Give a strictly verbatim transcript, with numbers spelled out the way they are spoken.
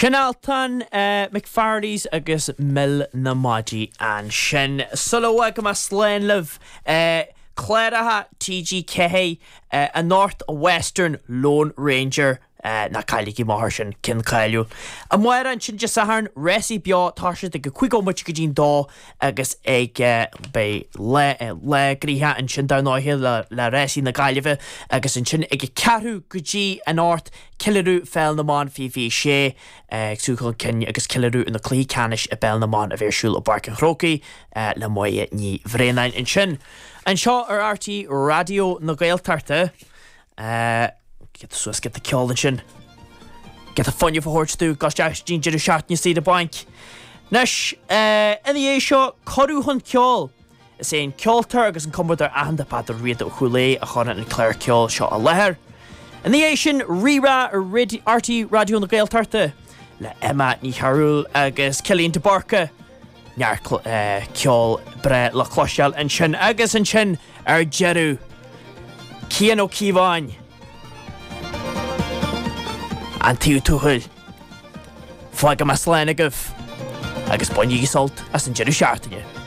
Sin Altan McFarley's agus Mil na Maidí ansin. Sula bhfágfaidh mé slán libh cláracha TG Ceathair anocht Western Lone Ranger ná cailligí amach air sin ceann cáiliúil. Amárach ansin Dé Sathairn rásaí beo tá siad ag a cúig nóiméad go dtí'n dó agus ag beidh lá lá gnoitheach ansin dar ndóigh le le rásaí na Gaillimhe agus ansin ag a ceathrú go dtí an ocht ceiliúradh Pheil na mBan fiche fiche sé ag súil chun cinn agus ceiliúradh na cluichí ceannais i bPeil na mBan a bheidh ar siúl i bPáirc an Chrócaigh le Máire Ní Bhraonáin ansin. Anseo ar RTÉ Raidió na Gaeltachta. Giota suas giota ceol ansin. Giota fuinnimh a thabhairt dúinn go isteach dtí'n deireadh seachtaine saoire bainc. Anois, ina dhiaidh seo, cuireadh chun ceoil. Is é an ceoltóir agus an cumadóir aitheanta Peadar Riada Ó Cúil Aodha a chuireann an clár ceoil seo i láthair. Ina dhiaidh sin, Rí-Rá ar RTÉ Raidió na Gaeltachta le Emma Ní Chearúil agus Cillian de Búrca. Neart ceol breá le cloisteáil ansin agus ansin ar deireadh, Cian Ó Cíobháin. An Taobh Tuathail. Fágfaidh mé slán agaibh agus bainigí sult as an deireadh seachtaine.